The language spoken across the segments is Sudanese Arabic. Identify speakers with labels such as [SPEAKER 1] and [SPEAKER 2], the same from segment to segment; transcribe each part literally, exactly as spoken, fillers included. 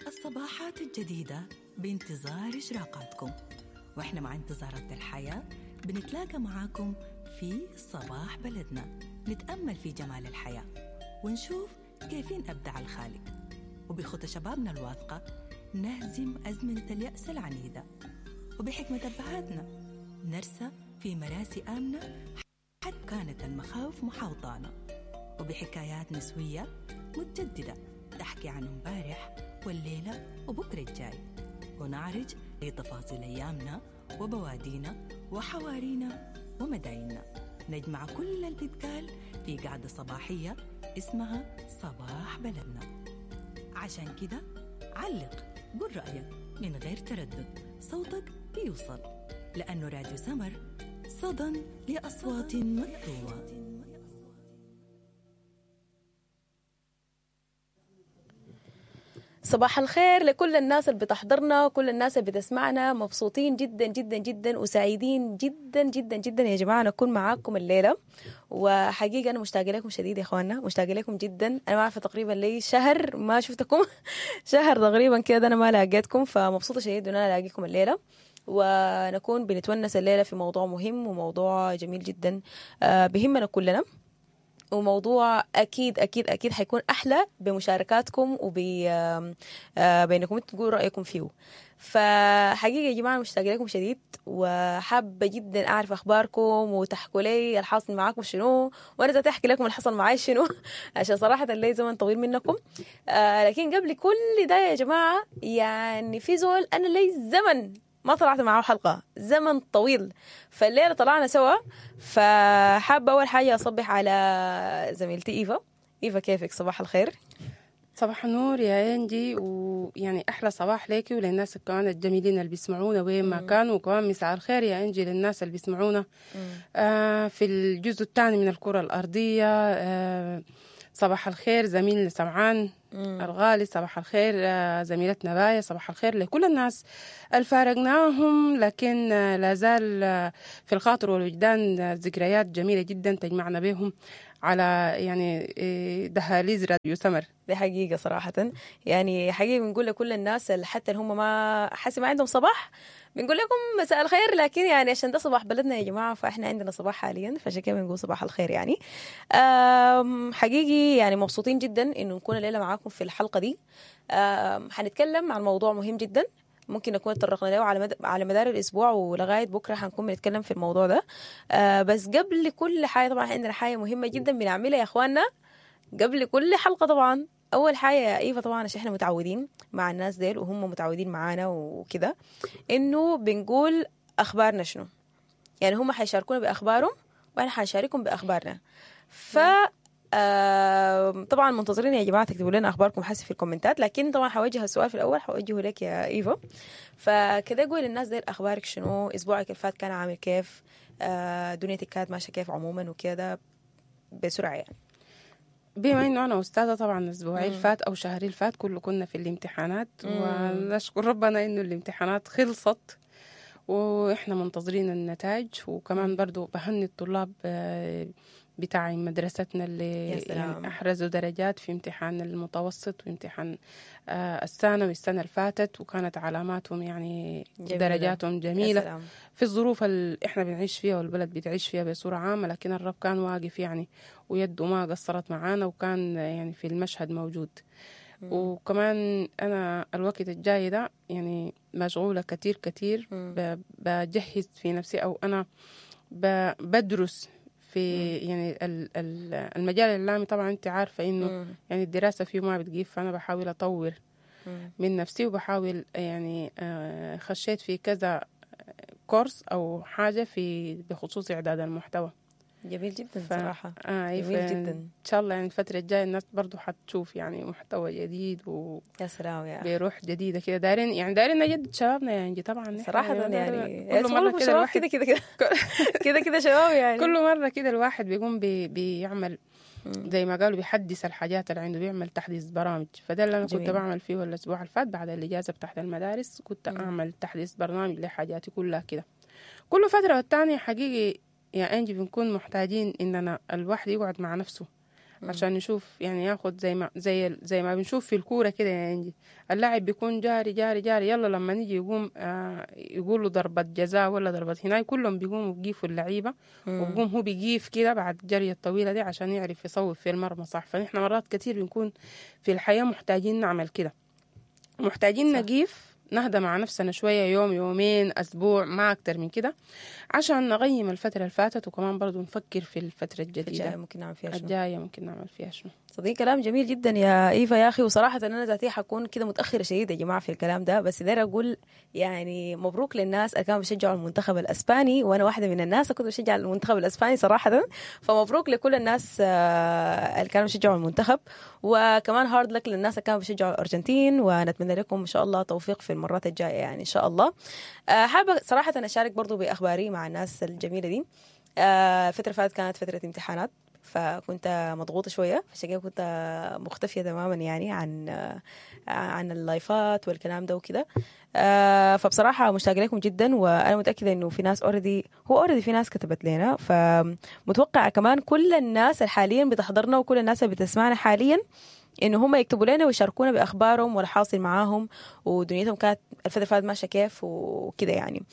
[SPEAKER 1] الصباحات الجديدة بانتظار إشراقاتكم، وإحنا مع انتظارات الحياة بنتلاقى معاكم في صباح بلدنا، نتأمل في جمال الحياة ونشوف كيفين أبدع الخالق، وبخطى شبابنا الواثقة نهزم أزمنة اليأس العنيدة، وبحكمة أبهاتنا نرسى في مراسي آمنة حتى كانت المخاوف محاوطانا، وبحكايات نسوية متجددة تحكي عن امبارح والليلة وبكرة الجاي، ونعرج لتفاصيل أيامنا وبوادينا وحوارينا ومدايننا. نجمع كل اللي بيتقال في قعدة صباحية اسمها صباح بلدنا. عشان كده علق، قول رأيك من غير تردد، صوتك بيوصل، لأنه راديو سمر صدى لأصوات مكتومة.
[SPEAKER 2] صباح الخير لكل الناس اللي بتحضرنا وكل الناس اللي بتسمعنا. مبسوطين جدا جدا جدا وسعيدين جدا جدا جدا يا جماعة نكون معاكم الليلة. وحقيقة أنا مشتاقة لكم شديد يا إخواننا، مشتاقة لكم جدا. أنا ما عارفة تقريبا لي شهر ما شفتكم شهر تقريبا كده أنا ما لاقيتكم، فمبسوطة شديد إن أنا ألاقيكم الليلة ونكون بنتونس الليلة في موضوع مهم وموضوع جميل جدا بهمنا كلنا، وموضوع أكيد أكيد أكيد حيكون أحلى بمشاركاتكم وبإنكم تقولوا رأيكم فيه. فحقيقة يا جماعة مشتاقة لكم شديد، وحابة جدا أعرف أخباركم وتحكوا لي الحاصل معاكم شنو، وأنا ذاتي أحكي لكم الحصل معاي شنو عشان صراحة لي زمن طويل منكم. آه لكن قبل كل ده يا جماعة، يعني في زول أنا لي زمن ما طلعت معاه حلقة، زمن طويل، فالليلة طلعنا سوا. فحابة أول حاجة أصبح على زميلتي إيفا. إيفا كيفك؟ صباح الخير.
[SPEAKER 3] صباح النور يا إنجي، ويعني أحلى صباح ليكي وللناس كمان الجميلين اللي بيسمعونا وين ما كانوا، وكمان مساء الخير يا إنجي للناس اللي بيسمعونا آه في الجزء الثاني من الكرة الأرضية. آه صباح الخير زميلنا سمعان مم. الغالي، صباح الخير زميلتنا باية، صباح الخير لكل الناس الفارقناهم لكن لا زال في الخاطر والوجدان ذكريات جميلة جدا تجمعنا بهم على يعني دهاليز راديو سمر.
[SPEAKER 2] دي حقيقة صراحة، يعني حقيقة بنقول لكل الناس حتى اللي هم ما حاسس ما عندهم صباح بنقول لكم مساء الخير، لكن يعني عشان ده صباح بلدنا يا جماعة، فإحنا عندنا صباح حاليا، فعشان كده بنقول صباح الخير. يعني حقيقي يعني مبسوطين جدا إنه نكون الليلة معاكم في الحلقة دي. حنتكلم عن موضوع مهم جدا ممكن نكون تطرقنا له على مد... على مدار الأسبوع ولغاية بكرة حنكون بنتكلم في الموضوع ده. آه بس قبل كل حاجة طبعا عندنا حاجة مهمة جدا بنعملها يا إخواننا قبل كل حلقة. طبعا أول حاجة يا إيفا، طبعا عشان إحنا متعودين مع الناس ديل وهم متعودين معانا وكده، إنه بنقول أخبارنا شنو، يعني هم حيشاركونا بأخبارهم وإحنا حنشاركهم بأخبارنا. ف آه طبعا منتظرين يا جماعة تكتبوا لنا اخباركم حسب في الكومنتات، لكن طبعا حوجه السؤال في الاول حوجهه لك يا ايفا. فكده قول للناس دي اخبارك شنو، اسبوعك الفات كان عامل كيف، آه دنيتك كانت ماشية كيف عموما وكده بسرعة. يعني
[SPEAKER 3] بما انه انا استاذه طبعا اسبوعي الفات او شهري الفات كله كنا في الامتحانات، ونشكر ربنا انه الامتحانات خلصت واحنا منتظرين النتائج. وكمان برضو بهني الطلاب بتاع مدرستنا اللي يعني أحرزوا درجات في امتحان المتوسط وامتحان الثانوي السنة الفاتت، وكانت علاماتهم يعني جميلة. درجاتهم جميلة في الظروف اللي احنا بنعيش فيها والبلد بتعيش فيها بصورة عامة، لكن الرب كان واقف يعني ويده ما قصرت معانا وكان يعني في المشهد موجود. مم. وكمان أنا الوقت الجاي ده يعني مشغولة كتير كتير، بجهز في نفسي أو أنا بدرس في يعني المجال الإعلامي. طبعا أنت عارفة إنه يعني الدراسة فيه ما بتجيب، فأنا بحاول أطور مم. من نفسي، وبحاول يعني خشيت في كذا كورس أو حاجة في بخصوص إعداد المحتوى.
[SPEAKER 2] جميل جدا ف... صراحة.
[SPEAKER 3] آه
[SPEAKER 2] جميل جدا.
[SPEAKER 3] إن شاء الله يعني الفترة الجاية الناس برضو حتشوف يعني محتوى جديد و
[SPEAKER 2] يا سلام يا
[SPEAKER 3] بروح جديدة كده. دارين يعني دارين نجدد شبابنا يعني طبعا
[SPEAKER 2] صراحة يعني, يعني كل مرة كده الواحد كده كده كده كده شباب يعني
[SPEAKER 3] كل مرة كده الواحد بيقوم بي... بيعمل زي ما قالوا بيحدث الحاجات اللي عنده، بيعمل تحديث برامج. فده اللي أنا جميل. كنت بعمل فيه الأسبوع الفات بعد الإجازة بتاعت المدارس، كنت مم. أعمل تحديث برنامج لحاجاتي كلها كده كل فترة والتانية. حقيقي يا أنجي بنكون محتاجين إننا الواحد يقعد مع نفسه عشان نشوف يعني ياخد زي ما زي زي ما بنشوف في الكورة كده يا انجي، اللاعب بيكون جاري جاري جاري، يلا لما نيجي يقوم آه يقولوا ضربة جزاء ولا ضربة هناك، كلهم بيقوموا بيقيفوا اللعيبة، وبقوم هو بيقيف كده بعد الجري الطويلة دي عشان يعرف يصوب في المرمى صح. فنحن مرات كتير بنكون في الحياة محتاجين نعمل كده، محتاجين نقيف نهدى مع نفسنا شوية، يوم يومين أسبوع ما أكتر من كده، عشان نقيم الفترة اللي فاتت، وكمان برضو نفكر في الفترة الجديدة
[SPEAKER 2] الجاية ممكن نعمل فيها شنو.
[SPEAKER 3] الجاية ممكن نعمل فيها شنو.
[SPEAKER 2] صديق كلام جميل جدا يا إيفا يا أخي، وصراحة أنا ذاتي حكون كده متأخرة شديد يا جماعة في الكلام ده، بس داير أقول يعني مبروك للناس اللي كانوا بيشجعوا المنتخب الأسباني، وأنا واحدة من الناس كنت بشجع المنتخب الأسباني صراحة، فمبروك لكل الناس اللي كانوا بيشجعوا المنتخب، وكمان hard luck للناس اللي كانوا بيشجعوا الأرجنتين، ونتمنى لكم إن شاء الله توفيق في المرات الجاية يعني إن شاء الله. حابة صراحة أشارك برضو بأخباري مع الناس الجميلة دي. الفترة فاتت كانت فترة امتحانات، فكنت مضغوطة شوية، عشان كده كنت مختفية تماما يعني عن عن اللايفات والكلام ده وكده. فبصراحة مشتاقة لكم جدا، وأنا متأكدة إنه في ناس already هو already في ناس كتبت لنا، فمتوقعة كمان كل الناس اللي حاليا بتحضرنا وكل الناس اللي بتسمعنا حاليا إنه هم يكتبوا لنا ويشاركونا بأخبارهم والحاصل معاهم ودنيتهم كانت الفترة فاتت ماشية كيف وكده يعني.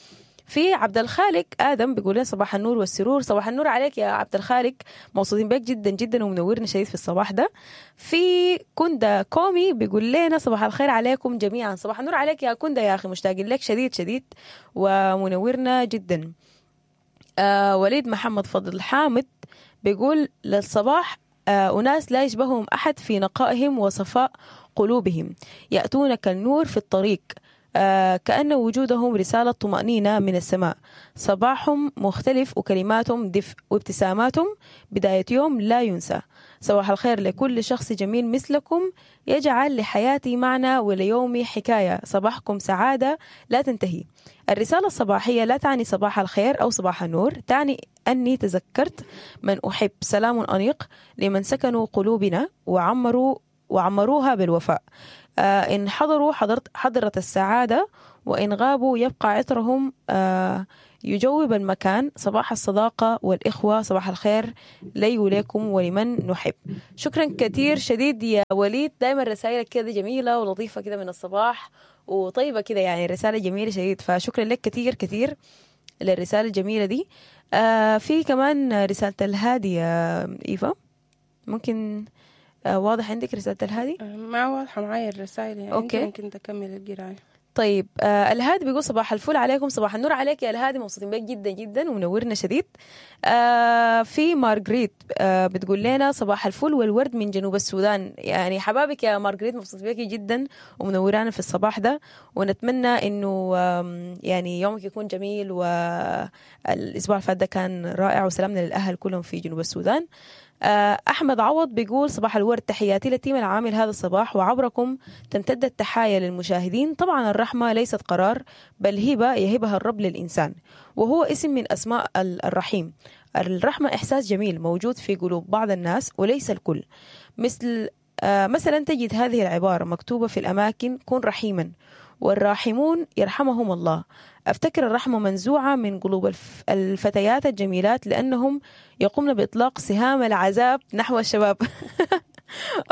[SPEAKER 2] في عبد الخالق آدم بيقول لنا صباح النور والسرور. صباح النور عليك يا عبد الخالق، مبسوطين بك جدا جدا ومنورنا شديد في الصباح ده. في كندا كومي بيقول لنا صباح الخير عليكم جميعا. صباح النور عليك يا كندا يا أخي، مشتاقين لك شديد شديد ومنورنا جدا. آه وليد محمد فضل حامد بيقول للصباح آه أناس لا يشبههم أحد في نقائهم وصفاء قلوبهم، يأتون كالنور في الطريق، آه كأن وجودهم رسالة طمأنينة من السماء. صباحهم مختلف وكلماتهم دفء وابتساماتهم بداية يوم لا ينسى. صباح الخير لكل شخص جميل مثلكم يجعل لحياتي معنى وليومي حكاية. صباحكم سعادة لا تنتهي. الرسالة الصباحية لا تعني صباح الخير أو صباح النور، تعني أني تذكرت من أحب. سلام أنيق لمن سكنوا قلوبنا وعمروا وعمروها بالوفاء. آه إن حضروا حضرت حضرت السعادة، وإن غابوا يبقى عطرهم آه يجوب المكان. صباح الصداقة والإخوة، صباح الخير لي وليكم ولمن نحب. شكرا كثير شديد يا وليد، دايما رسائلك كده جميلة ولطيفة كده من الصباح وطيبة كده، يعني رسالة جميلة شديد، فشكرا لك كثير كثير للرسالة الجميلة دي. آه في كمان رسالة الهادي يا إيفا، ممكن آه واضح عندك رسالة الهادي؟
[SPEAKER 3] ما واضحة معايا الرسائل يعني. okay. ممكن تكمل القراية.
[SPEAKER 2] طيب آه الهادي بيقول صباح الفل عليكم. صباح النور عليك يا الهادي، مبسوطين بك جدا جدا ومنورنا شديد. آه في مارغريت آه بتقول لنا صباح الفل والورد من جنوب السودان. يعني حبابك يا مارغريت، مبسوط بك جدا ومنورانا في الصباح ده، ونتمنى انه يعني يومك يكون جميل، والاسبوع اللي فات ده كان رائع، وسلامنا للاهل كلهم في جنوب السودان. أحمد عوض بيقول صباح الورد، تحياتي لل team العامل هذا الصباح، وعبركم تمتد التحايا للمشاهدين. طبعا الرحمة ليست قرار بل هبة يهبها الرب للإنسان، وهو اسم من أسماء الرحيم. الرحمة إحساس جميل موجود في قلوب بعض الناس وليس الكل. مثل مثلا تجد هذه العبارة مكتوبة في الأماكن: كن رحيما والراحمون يرحمهم الله. أفتكر الرحمة منزوعة من قلوب الفتيات الجميلات لأنهم يقومن بإطلاق سهام العذاب نحو الشباب.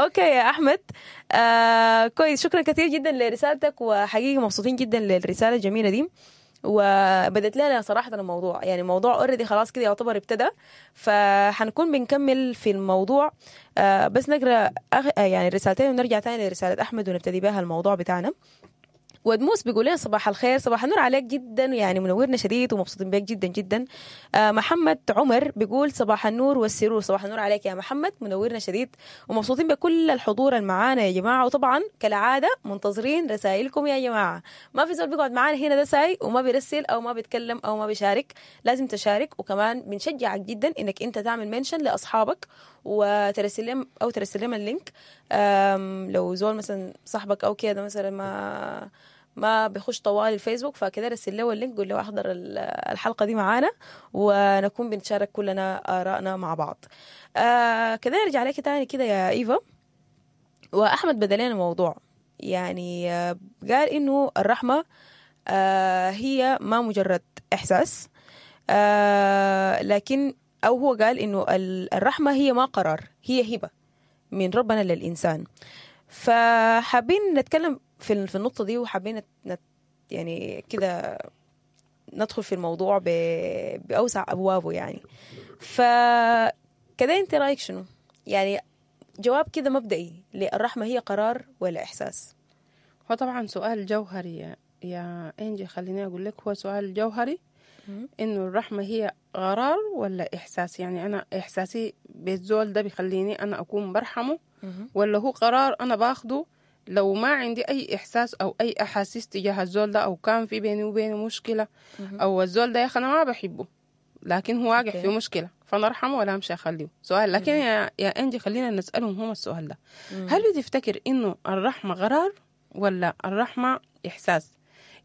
[SPEAKER 2] okay يا أحمد، آه كويس، شكرا كثير جدا لرسالتك، وحقيقة مبسوطين جدا للرسالة الجميلة دي، وبدت لنا صراحة الموضوع، يعني الموضوع already خلاص كده يعتبر ابتدى، فحنكون بنكمل في الموضوع. آه بس نقرأ أغ... يعني الرسالتين ونرجع تاني لرسالة أحمد ونبتدي بها الموضوع بتاعنا. ودموس بيقول لنا صباح الخير، صباح النور عليك جدا، يعني منورنا شديد ومبسوطين بك جدا جدا. آه محمد عمر بيقول صباح النور والسرور، صباح النور عليك يا محمد، منورنا شديد ومبسوطين بكل الحضور المعانا يا جماعة. وطبعا كالعادة منتظرين رسائلكم يا جماعة، ما في زول بيقعد معانا هنا ده ساي وما بيرسل أو ما بيتكلم أو ما بيشارك، لازم تشارك. وكمان بنشجعك جدا إنك أنت تعمل mention لأصحابك وترسل لهم أو ترسل لهم ال link. لو زول مثلا صاحبك أو كده مثلا ما ما بيخش طوال الفيسبوك، فكده رسل له ال link، قول له احضر الحلقة دي معانا ونكون بنتشارك كلنا آرائنا مع بعض. آه كده نرجع لك تاني كده يا إيفا. وأحمد بدلنا الموضوع، يعني آه قال إنه الرحمة آه هي ما مجرد إحساس، آه لكن أو هو قال إنه الرحمة هي ما قرار، هي هبة. من ربنا للإنسان. فحابين نتكلم في في النقطة دي، وحابين نت يعني كده ندخل في الموضوع بأوسع أبوابه يعني. فكده انت رأيك شنو؟ يعني جواب كده مبدئي، للرحمة هي قرار ولا إحساس؟
[SPEAKER 3] هو طبعا سؤال جوهري يا, يا إنجي، خليني أقول لك هو سؤال جوهري، إنه الرحمة هي قرار ولا إحساس؟ يعني أنا إحساسي بالزول ده بيخليني أنا أكون برحمة، ولا هو قرار أنا باخده لو ما عندي أي إحساس أو أي أحاسيس تجاه الزول ده، أو كان في بيني وبينه مشكلة، أو الزول ده يا أخي أنا ما بحبه لكن هو واقع في مشكلة فأنا أرحمه ولا أمشي أخليه؟ سؤال. لكن يا يا إنجي خلينا نسألهم هم السؤال ده. هل بتفتكر إنه الرحمة قرار ولا الرحمة إحساس؟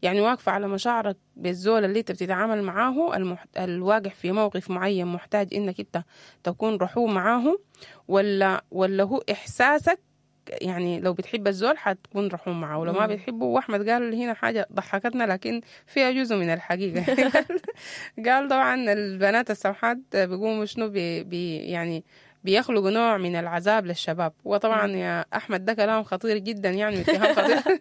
[SPEAKER 3] يعني واقفة على مشاعرك بالزول اللي انت بتتعامل معاه، المحت... الواقع في موقف معين محتاج انك انت تكون رحوم معاه، ولا ولا هو احساسك؟ يعني لو بتحب الزول حتكون رحوم معاه، ولو ما بتحبه. واحمد قال هنا حاجة ضحكتنا لكن فيها جزء من الحقيقة. قال طبعا البنات السمحات بيقوموا شنو بي... بي يعني بيخلقوا نوع من العذاب للشباب. وطبعا يا أحمد ده كلام خطير جدا، يعني واتهام خطير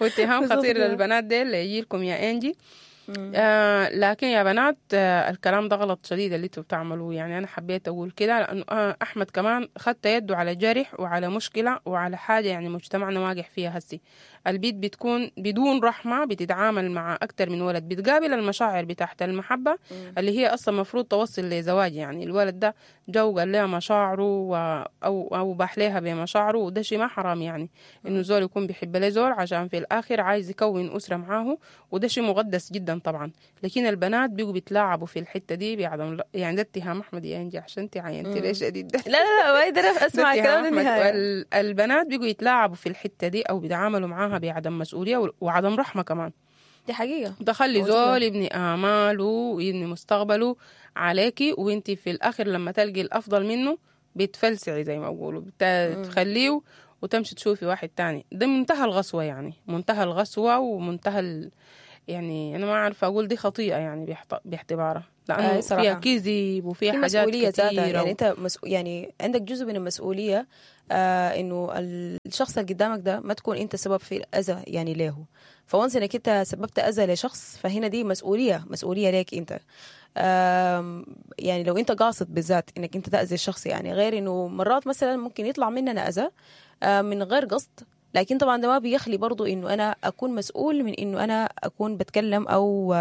[SPEAKER 3] واتهام خطير للبنات ديل اللي يجيلكم يا إنجي. آه لكن يا بنات آه الكلام ده غلط شديد اللي انتوا بتعملوه. يعني أنا حبيت أقول كده لأنه آه أحمد كمان خدت يده على جرح وعلى مشكلة وعلى حاجة يعني مجتمعنا واقع فيها هسي. البيت بتكون بدون رحمة بتتعامل مع أكتر من ولد، بتقابل المشاعر بتاعت المحبة اللي هي أصلا مفروض توصل لزواج. يعني الولد ده جو قال لها مشاعره و... أو أو باح لها بمشاعره، وده شيء ما حرام يعني إنه زول يكون بيحب له زول عشان في الآخر عايز يكون أسرة معاه، وده شيء مقدس جدا طبعا. لكن البنات بيجوا بيتلاعبوا في الحتة دي بعدم، يعني ده اتهام أحمد يا إنجي عشان انت عينتي ليش شديد ده.
[SPEAKER 2] لا لا لا ما أقدر أسمع الكلام للنهاية.
[SPEAKER 3] البنات بيجوا يتلاعبوا في الحتة دي أو بيتعاملوا معاها بعدم مسؤولية وعدم رحمة كمان.
[SPEAKER 2] دي حقيقة.
[SPEAKER 3] تخلي زول يبني آماله ويبني مستقبله عليكي، وانتي في الآخر لما تلقي الأفضل منه بتفلسعي زي ما بقولوا، بتخليه وتمشي تشوفي واحد تاني. ده منتهى الغسوة، يعني منتهى الغسوة ومنتهى ال... يعني أنا ما عارفة أقول دي خطيئة يعني باعتبارها، لأنه فيها كذب وفيها حاجات كتيرة.
[SPEAKER 2] يعني أنت مسؤ... يعني عندك جزء من المسؤولية آه إنه الشخص اللي قدامك ده ما تكون أنت سبب في الأذى يعني له. فونس إنك أنت سببت أذى لشخص فهنا دي مسؤولية، مسؤولية ليك أنت. آه يعني لو أنت قاصد بالذات إنك أنت تأذي الشخص، يعني غير إنه مرات مثلا ممكن يطلع مننا أذى آه من غير قصد، لكن طبعا ده ما بيخلي برضو إنه أنا أكون مسؤول من إنه أنا أكون بتكلم أو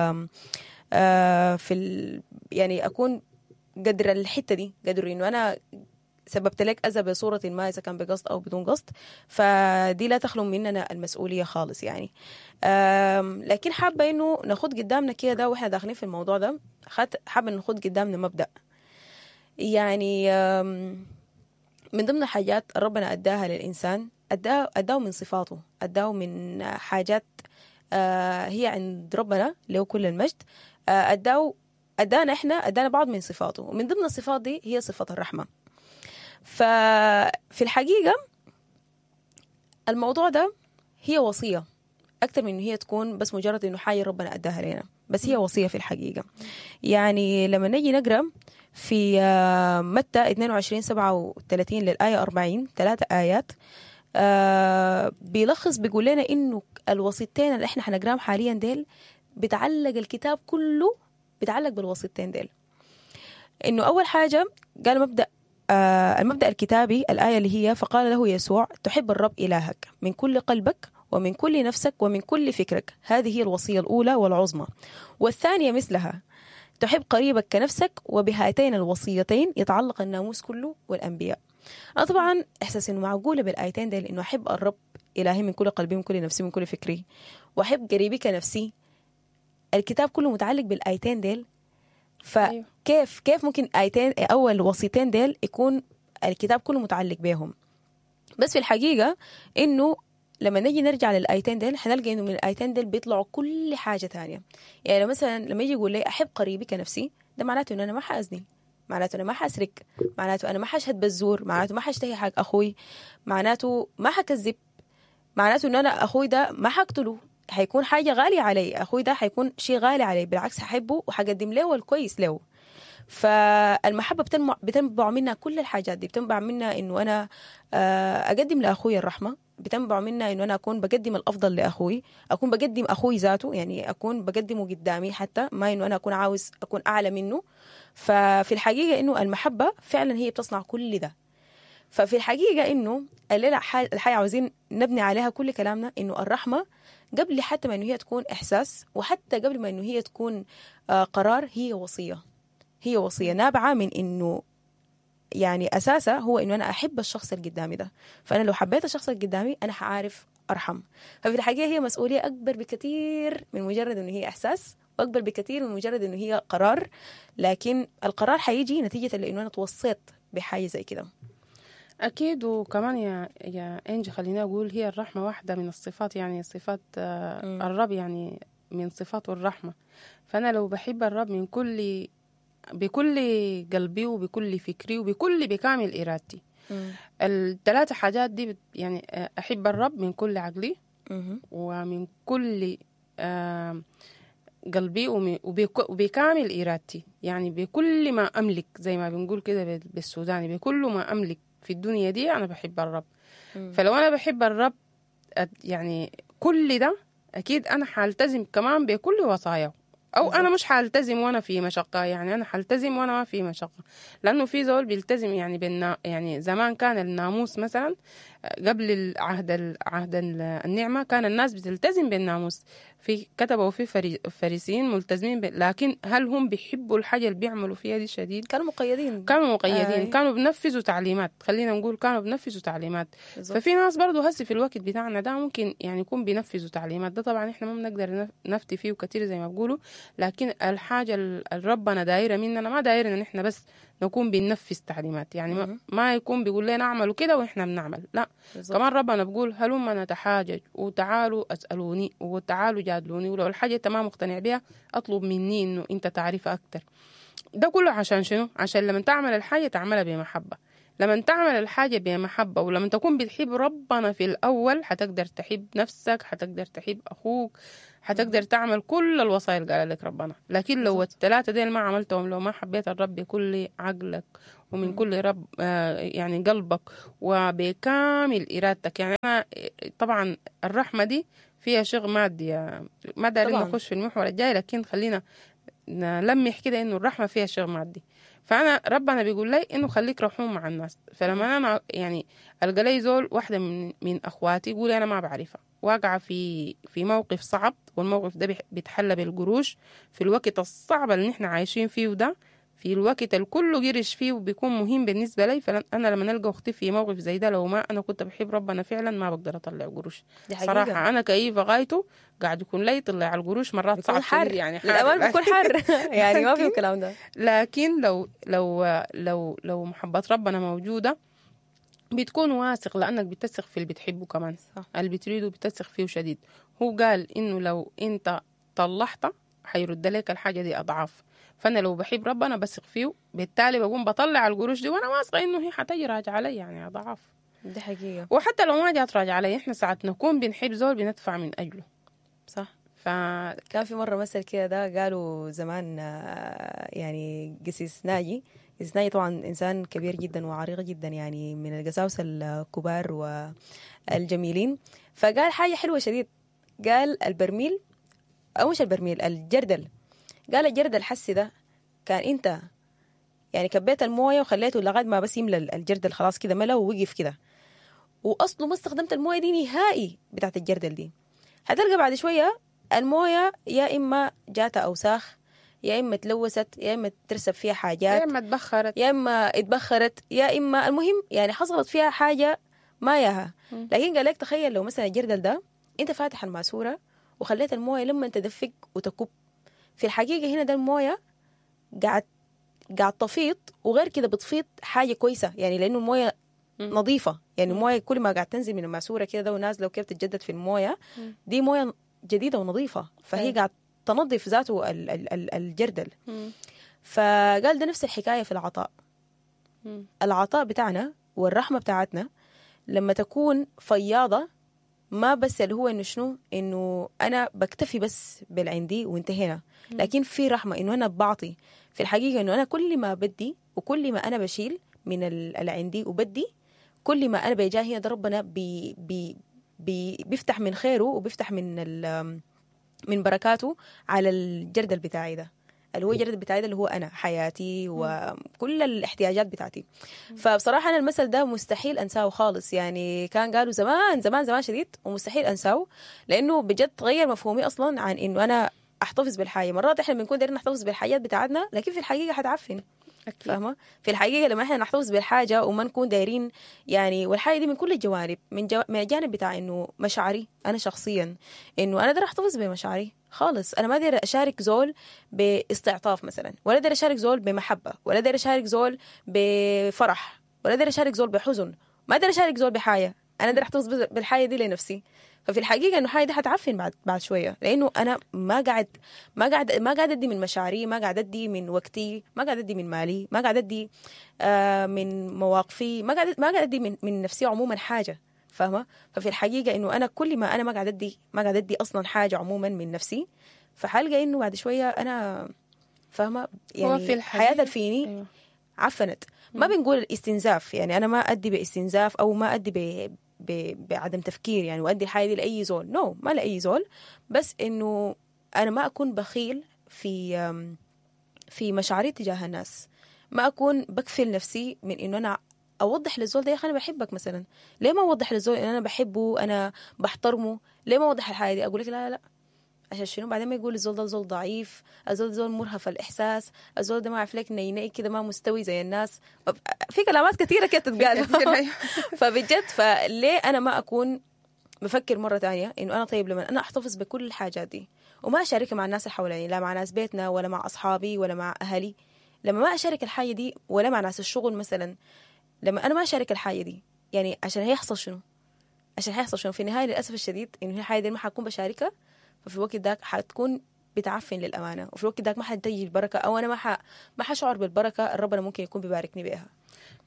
[SPEAKER 2] آه في ال... يعني أكون قدر الحتة دي، قدر إنه أنا سببت لك أذى بصورة ما إذا كان بقصد أو بدون قصد، فدي لا تخلو مننا المسؤولية خالص يعني. لكن حابة إنه ناخد قدامنا كده وإحنا داخلين في الموضوع ده، حابة ناخد قدامنا مبدأ يعني من ضمن حاجات ربنا أداها للإنسان، أداه أداه من صفاته، أداه من حاجات هي عند ربنا له كل المجد، أداه أدانا إحنا أدانا بعض من صفاته، ومن ضمن الصفات دي هي صفة الرحمة. ففي الحقيقة الموضوع ده هي وصية أكثر من إنه هي تكون بس مجرد إنه حاجة ربنا أداها لنا، بس هي وصية في الحقيقة. يعني لما نجي نقرأ في متى اثنين وعشرين سبعة وثلاثين للآية أربعين، ثلاثة آيات آه بيلخص بيقول لنا إنه الوصيتين اللي إحنا حنقراهم حاليا ديل بتعلق الكتاب كله، بتعلق بالوصيتين ديل. إنه أول حاجة قال مبدأ آه المبدأ الكتابي، الآية اللي هي فقال له يسوع تحب الرب إلهك من كل قلبك ومن كل نفسك ومن كل فكرك، هذه هي الوصية الأولى والعظمى، والثانية مثلها تحب قريبك كنفسك، وبهاتين الوصيتين يتعلق الناموس كله والأنبياء. أنا طبعا إحساس إنه معقولة بالآيتين ديل، إنه أحب الرب إلهي من كل قلبي من كل نفسي من كل فكري وأحب قريبي كنفسي، الكتاب كله متعلق بالآيتين ديل. فكيف كيف ممكن آيتين أول وصيتين ديل يكون الكتاب كله متعلق بهم؟ بس في الحقيقة إنه لما نجي نرجع للآيتين ديل حنلقى إنه من الآيتين ديل بيطلعوا كل حاجة تانية. يعني مثلا لما يجي يقول لي أحب قريبي كنفسي، ده معناته إنه أنا ما حأزني، معناته أنا ما حأسرق، معناته أنا ما حشهد بالزور، معناته ما حاشتهي حق أخوي، معناته ما حكذب، معناته إنه أنا أخوي ده ما حقتله. حيكون حاجة غالية علي، اخوي ده حيكون شيء غالي علي، بالعكس ححبه وحقدم له الكويس له. فالمحبه بتنبع, بتنبع منها كل الحاجات دي، بتنبع منها انه انا اقدم لاخوي الرحمة، بتنبع منها انه انا اكون بقدم الافضل لاخوي، اكون بقدم اخوي ذاته، يعني اكون بقدمه قدامي، حتى ما انه انا اكون عاوز اكون اعلى منه. ففي الحقيقة انه المحبة فعلا هي بتصنع كل ده. ففي الحقيقة انه الليلة الحقيقة عاوزين نبني عليها كل كلامنا، انه الرحمة قبل حتى ما انه هي تكون احساس، وحتى قبل ما انه هي تكون قرار، هي وصية. هي وصية نابعة من انه يعني اساسها هو انه انا احب الشخص اللي قدامي ده، فانا لو حبيت الشخص اللي قدامي انا حعرف ارحم. ففي الحقيقة هي مسؤولية اكبر بكثير من مجرد انه هي احساس، واكبر بكثير من مجرد انه هي قرار، لكن القرار حيجي نتيجة لانه انا توصيت بحاجة زي كده.
[SPEAKER 3] اكيد. وكمان يا يا انجي خليني اقول هي الرحمة واحدة من الصفات، يعني صفات آه الرب، يعني من صفاته الرحمة. فانا لو بحب الرب من كل بكل قلبي وبكل فكري وبكل بكامل إرادتي، الثلاثة حاجات دي يعني أحب الرب من كل عقلي مم. ومن كل قلبي وبكامل إرادتي، يعني بكل ما أملك، زي ما بنقول كده بالسوداني، بكل ما أملك في الدنيا دي أنا بحب الرب. مم. فلو أنا بحب الرب يعني كل ده أكيد أنا حالتزم كمان بكل وصاياه، أو أنا مش حالتزم وأنا في مشقة، يعني أنا حالتزم وأنا ما في مشقة، لأنه في زول بيلتزم يعني بالنا، يعني زمان كان الناموس مثلا قبل العهد العهد النعمة كان الناس بتلتزم بالناموس، في كتبوا في فري فريسيين ملتزمين ب... لكن هل هم بيحبوا الحاجة اللي بيعملوا فيها دي شديد؟
[SPEAKER 2] كانوا مقيدين،
[SPEAKER 3] كانوا مقيدين، آه. كانوا بنفذوا تعليمات، خلينا نقول كانوا بنفذوا تعليمات. بالزبط. ففي ناس برضو هسي في الوقت بتاعنا ده ممكن يعني يكون بينفذوا تعليمات، ده طبعا احنا ما بنقدر نفتي فيه كتير زي ما بيقولوا، لكن الحاجة اللي ربنا دايرة مننا ما دايرنا ان احنا بس نكون بننفذ تعليمات، يعني ما, ما يكون بيقول لنا اعملوا كده واحنا بنعمل، لا. بالزبط. كمان ربنا بيقول هلما نتحاجج وتعالوا اسالوني وتعالوا جادلوني، ولو الحاجة انت ما مقتنع بها اطلب مني انه انت تعرفها اكتر. ده كله عشان شنو؟ عشان لما تعمل الحاجة تعملها بمحبة. لما تعمل الحاجة بمحبة ولما تكون بتحب ربنا في الأول حتقدر تحب نفسك، حتقدر تحب أخوك، حتقدر تعمل كل الوصايا اللي قال لك ربنا. لكن لو الثلاثة ديل ما عملتهم، لو ما حبيت الرب بكل عقلك ومن كل رب يعني قلبك وبكامل إرادتك، يعني أنا طبعا الرحمة دي فيها شغل مادي، ما دارين نخش في المحور الجاي، لكن خلينا نلمح كده إنه الرحمة فيها شغل مادي. فأنا ربنا بيقول لي إنه خليك رحوم مع الناس. فلما أنا يعني ألقى لي زول واحدة من من أخواتي يقول أنا ما بعرفها، واقعة في في موقف صعب، والموقف ده بيتحلى بالقروش في الوقت الصعب اللي نحن عايشين فيه ده، في الوقت الكل قرش فيه وبيكون مهم بالنسبة لي. فأنا لما نلقى أختي في موقف زي ده، لو ما أنا كنت بحب ربنا فعلا ما بقدر أطلع قروش صراحة. أنا كيف غايته قاعد يكون لي طلع القروش مرات صعب
[SPEAKER 2] حر يعني، حار الأمان بيكون حر يعني ما في الكلام ده.
[SPEAKER 3] لكن لو لو لو لو محبة ربنا موجودة بتكون واثق، لأنك بتثق في اللي بتحبه كمان، صح. اللي بتريده بتثق فيه شديد. هو قال إنه لو أنت طلعته حيرد لك الحاجة دي أضعاف. فأنا لو بحب ربنا بثق فيه، بالتالي بقوم بطلع القروش دي وأنا واثقة إنه هي حتجي راجعة علي يعني أضعاف.
[SPEAKER 2] دي حقيقة.
[SPEAKER 3] وحتى لو ما جات راجعة علي، إحنا ساعات نكون بنحب زول بندفع من أجله،
[SPEAKER 2] صح. ف... كان في مرة مثل كده ده قالوا زمان، يعني قسيس ناجي، قسيس ناجي طبعا إنسان كبير جدا وعريق جدا، يعني من القساوسة الكبار والجميلين، فقال حاجة حلوة شديد. قال البرميل أو مش البرميل، الجردل. قال الجردل حسي ده كان انت يعني كبيت المويه وخليته لغاية ما بس يملى الجردل، خلاص كده ملى ووقف كده، واصله ما استخدمت المويه دي نهائي بتاعت الجردل دي، هتلقى بعد شوية المويه يا اما جاتها اوساخ، يا اما تلوثت، يا اما ترسب فيها حاجات،
[SPEAKER 3] يا اما اتبخرت،
[SPEAKER 2] يا اما اتبخرت، يا اما المهم يعني حصلت فيها حاجة ما ياها. لكن قال لك تخيل لو مثلا الجردل ده انت فاتح الماسورة وخليت المويه لما تدفق وتكب، في الحقيقة هنا ده الموية قاعد قاعد تفيض، وغير كده بتفيض حاجة كويسة، يعني لأنه الموية نظيفة، يعني الموية كل ما قاعد تنزل من الماسورة كده ده ونازلة وكيف تتجدد في الموية دي موية جديدة ونظيفة، فهي قاعد تنظف ذاته الجردل. فقال ده نفس الحكاية في العطاء. العطاء بتاعنا والرحمة بتاعتنا لما تكون فياضة ما بس اللي هو انه شنو، انه انا بكتفي بس بالعندي وانتهينا، لكن في رحمه انه انا بعطي. في الحقيقة انه انا كل ما بدي وكل ما انا بشيل من اللي عندي وبدي، كل ما انا بيجاهي هنا ده ربنا بي بي بي بيفتح من خيره وبيفتح من من بركاته على الجردل بتاعي ده، اللي هو الجردل بتاعي ده اللي هو انا حياتي وكل الاحتياجات بتاعتي. فبصراحة انا المثل ده مستحيل انساه خالص، يعني كان قالوا زمان زمان زمان شديد ومستحيل انساه، لانه بجد غير مفهومي اصلا عن انه انا احتفظ بالحاجة. مرات احنا بنكون دايرين نحتفظ بالحاجات بتاعتنا، لكن في الحقيقة حتعفن. فاهمه؟ في الحقيقة لما احنا نحتفظ بالحاجة وما نكون دايرين يعني، والحاجة دي من كل الجوانب، من جو... من الجانب بتاع انه مشاعري انا شخصيا، انه انا داير احتفظ بمشاعري خالص، انا ما داير اشارك زول باستعطاف مثلا، ولا داير اشارك زول بمحبة، ولا داير اشارك زول بفرح، ولا داير اشارك زول بحزن، ما داير اشارك زول بحاجة، انا داير احتفظ بالحاجة دي لنفسي. ففي الحقيقة انه الحاجة دي حتعفن بعد بعد شوية، لانه انا ما قاعد ما قاعد ما قاعد ادي من مشاعري، ما قاعد ادي من وقتي، ما قاعد ادي من مالي، ما قاعد ادي آه من مواقفي، ما قاعد ما قاعد ادي من من نفسي عموما حاجة. فاهمه؟ ففي الحقيقة انه انا كل ما انا ما قاعد ادي ما قاعد ادي اصلا حاجة عموما من نفسي، فحلقه انه بعد شوية انا فاهمه يعني في حياتي فيني أيوة. عفنت. ما بنقول الاستنزاف، يعني انا ما ادي باستنزاف او ما ادي ب بعدم تفكير يعني وادي الحاجة دي لاي زول، نو no, ما لاي زول، بس انه انا ما اكون بخيل في في مشاعري تجاه الناس، ما اكون بكفل نفسي من انه انا اوضح للزول ده يا اخي انا بحبك مثلا. ليه ما اوضح للزول ان انا بحبه، انا بحترمه؟ ليه ما اوضح الحاجة دي؟ اقول لك لا لا لا، عشان شنو؟ بعدين ما يقول الزول ده زول ضعيف، الزول ده زول مرهف الاحساس، الزول ده ما عارف لك نيني كده، ما مستوي زي الناس، في كلامات كثيرة كده تتقال. فبجد فليه انا ما اكون بفكر مرة تانية انه انا طيب لما انا احتفظ بكل الحاجات دي وما اشاركها مع الناس اللي حواليني، لا مع ناس بيتنا ولا مع اصحابي ولا مع اهلي، لما ما اشارك الحاجة دي ولا مع ناس الشغل مثلا، لما انا ما اشارك الحاجة دي يعني عشان هيحصل شنو؟ عشان هيحصل شنو في النهاية؟ للاسف الشديد انه الحاجة دي ما حكون بشاركها، ففي الوقت داك حتكون بتعفن للأمانة، وفي الوقت داك ما حتجي البركة، أو أنا ما ح... ما حشعر بالبركة ربنا ممكن يكون بيباركني بيها.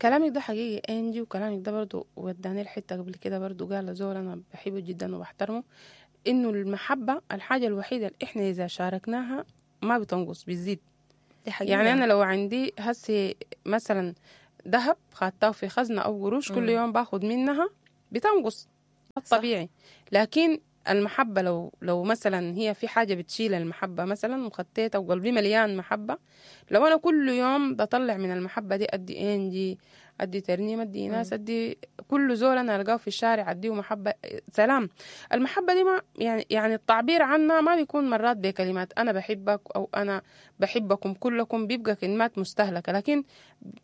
[SPEAKER 3] كلامك ده حقيقي انجي، وكلامك ده برضو وداني الحتة قبل كده برضو قال زول أنا بحبه جدا وبحترمه، إنه المحبة الحاجة الوحيدة اللي إحنا إذا شاركناها ما بتنقص، بتزيد. يعني أنا لو عندي هسي مثلا ذهب خدته في خزنة أو قروش كل يوم باخد منها بتنقص طبيعي، لكن المحبة لو لو مثلا هي في حاجة بتشيل المحبة مثلا وخطيتها وقلبي مليان محبة، لو أنا كل يوم بطلع من المحبة دي أدي إنجي، أدي ترنيم، أدي ناس، أدي كل زول أنا ألقاه في الشارع أديه محبة سلام. المحبة دي ما يعني يعني التعبير عنها ما بيكون مرات بكلمات أنا بحبك أو أنا بحبكم كلكم، بيبقى كلمات مستهلكة، لكن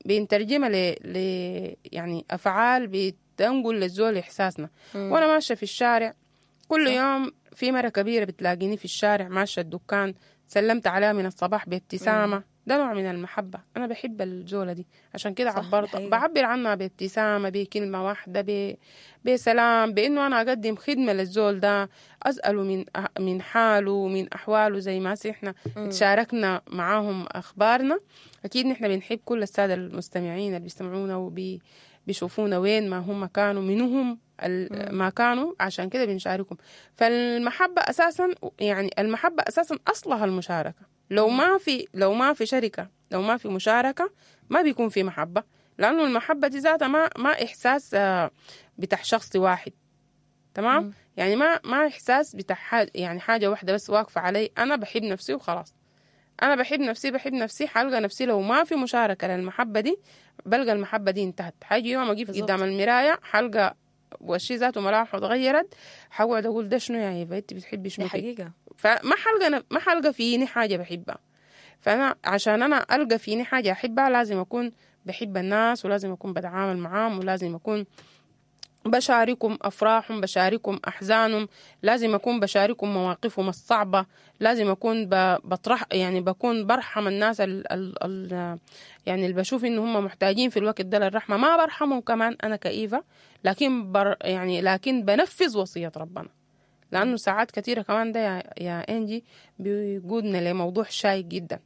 [SPEAKER 3] بنترجمها ل ل يعني أفعال بتنقل للزول إحساسنا. مم. وأنا ماشية في الشارع كل يوم في مرة كبيرة بتلاقيني في الشارع ماشية الدكان، سلمت عليها من الصباح بابتسامة، ده نوع من المحبة. أنا بحب الزولة دي عشان كده عبرت بعبر عنها بابتسامة، بكلمة واحدة، ب... بسلام، بإنه أنا أقدم خدمة للزول ده، أسأله من من حاله من أحواله، زي ما إحنا تشاركنا معاهم أخبارنا. أكيد نحن بنحب كل السادة المستمعين اللي بيستمعونا وبي بيشوفونا وين ما هم كانوا، منهم ما كانوا، عشان كده بنشاركهم. فالمحبة أساسا يعني المحبة أساسا أصلها المشاركة. لو ما في لو ما في شركة، لو ما في مشاركة، ما بيكون في محبة، لأنه المحبة دي ذاتها ما ما إحساس بتاع شخص واحد، تمام؟ مم. يعني ما ما إحساس بتاع حاجة، يعني حاجة واحدة بس واقفة علي أنا بحب نفسي وخلاص. أنا بحب نفسي بحب نفسي حلقة نفسي. لو ما في مشاركة للمحبة دي بلقى المحبة دي انتهت. حاجة يوم أجي قدام المراية حلقة وشي ذاته ملامحه اتغيرت، حقعد أقول ده شنو يا هيفا، أنت بتحبي شنو؟
[SPEAKER 2] حقيقة
[SPEAKER 3] فما حلقة ما حلقة فيني حاجة بحبها. فأنا عشان أنا ألقى فيني حاجة أحبها لازم أكون بحب الناس، ولازم أكون بتعامل معاهم، ولازم أكون بشاركهم أفراحهم، بشاركهم أحزانهم، لازم أكون بشاركهم مواقفهم الصعبة، لازم أكون بطرح يعني بكون برحم الناس ال ال ال يعني اللي بشوف إن هم محتاجين في الوقت ده للرحمة. ما برحمهم كمان أنا كإيفا، لكن بر يعني لكن بنفذ وصية ربنا، لأنه ساعات كثيرة كمان ده يا, يا إنجي بيقودنا لموضوع شائك جدا،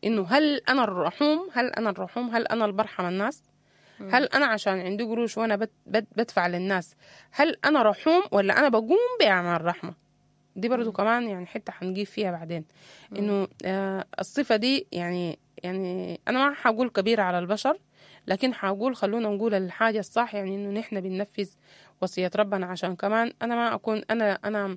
[SPEAKER 3] إنه هل أنا الرحوم؟ هل أنا الرحوم؟ هل أنا اللي برحم الناس؟ هل انا عشان عندي قروش وانا بت بت بدفع للناس هل انا رحوم ولا انا بقوم باعمال رحمه؟ دي برضو كمان يعني حتة حنجيب فيها بعدين، انه آه الصفة دي يعني يعني انا ما حقول كبيرة على البشر، لكن حقول خلونا نقول الحاجة الصح، يعني انه نحن بننفذ وصية ربنا، عشان كمان انا ما اكون انا انا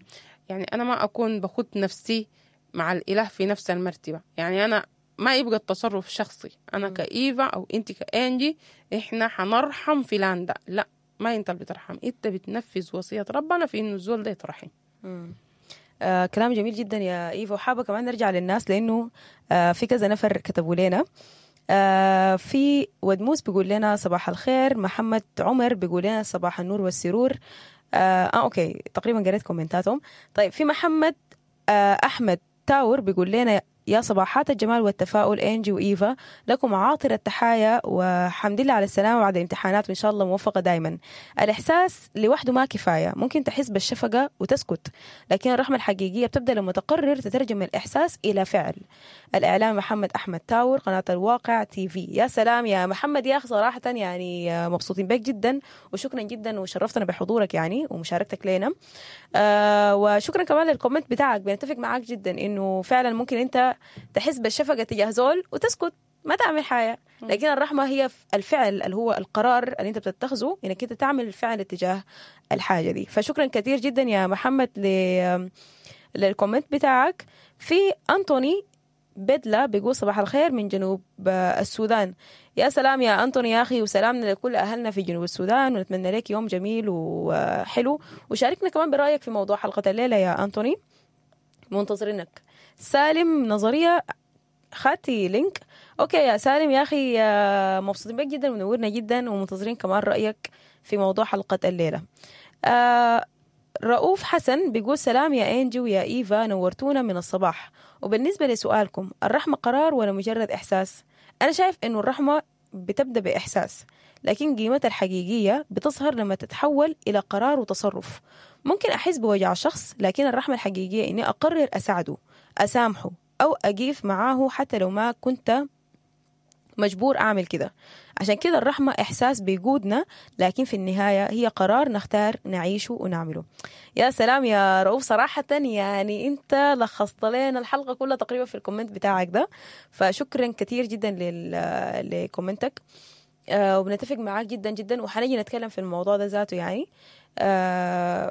[SPEAKER 3] يعني انا ما اكون بخط نفسي مع الاله في نفس المرتبة. يعني انا ما يبقى التصرف شخصي، انا كإيفا او انت كإنجي احنا حنرحم فلان ده، لا، ما انت اللي بترحم، انت بتنفذ وصية ربنا في انه الزول ده يترحم.
[SPEAKER 2] آه كلام جميل جدا يا إيفا. وحابة كمان نرجع للناس لأنه آه في كذا نفر كتبوا لنا. آه في ودموس بيقول لنا صباح الخير، محمد عمر بيقول لنا صباح النور والسرور. آه, آه okay تقريبا قريت كومنتاتهم. طيب في محمد آه أحمد تاور بيقول لنا يا صباحات الجمال والتفاؤل إنجي وإيفا، لكم عاطر التحايا وحمد لله على السلامة بعد الامتحانات، وإن شاء الله موفقة دايما. الإحساس لوحده ما كفاية، ممكن تحس بالشفقة وتسكت، لكن الرحمة الحقيقية بتبدأ لما تقرر تترجم الإحساس إلى فعل. الإعلام محمد أحمد تاور، قناة الواقع تي في. يا سلام يا محمد يا أخي، صراحة يعني مبسوطين بك جدا، وشكرا جدا وشرفتنا بحضورك يعني ومشاركتك لنا. آه وشكرا كمان لل comment بتاعك، بنتفق معاك جدا إنه فعلا ممكن أنت تحس بالشفقة تجاه زول وتسكت ما تعمل حاجة، لكن الرحمة هي الفعل اللي هو القرار اللي انت بتتخذه انك انت تعمل الفعل تجاه الحاجة دي. فشكرا كثير جدا يا محمد ل... لل comment بتاعك. في أنتوني بدلة بيقول صباح الخير من جنوب السودان. يا سلام يا أنتوني يا أخي، وسلامنا لكل أهلنا في جنوب السودان، ونتمنى لك يوم جميل وحلو. وشاركنا كمان برأيك في موضوع حلقة الليلة يا أنتوني، منتظرينك. سالم نظرية خاتي link. okay يا سالم يا أخي، مبسوطين بك جدا ونورنا جدا، ومنتظرين كمان رأيك في موضوع حلقة الليلة. آه رؤوف حسن بيقول سلام يا إنجي ويا إيفا، نورتونا من الصباح. وبالنسبة لسؤالكم، الرحمة قرار ولا مجرد إحساس؟ أنا شايف إنه الرحمة بتبدأ بإحساس، لكن قيمتها الحقيقية بتظهر لما تتحول إلى قرار وتصرف. ممكن أحس بوجع شخص، لكن الرحمة الحقيقية إني أقرر أساعده، أسامحه، أو أقيف معاه حتى لو ما كنت مجبور أعمل كده. عشان كده الرحمة إحساس بيقودنا، لكن في النهاية هي قرار نختار نعيشه ونعمله. يا سلام يا رؤوف، صراحة يعني أنت لخصت لنا الحلقة كلها تقريبا في ال comment بتاعك ده، فشكرا كثير جدا ل comment ك، آه وبنتفق معاك جدا جدا، وحنيجي نتكلم في الموضوع ده ذاته يعني. آه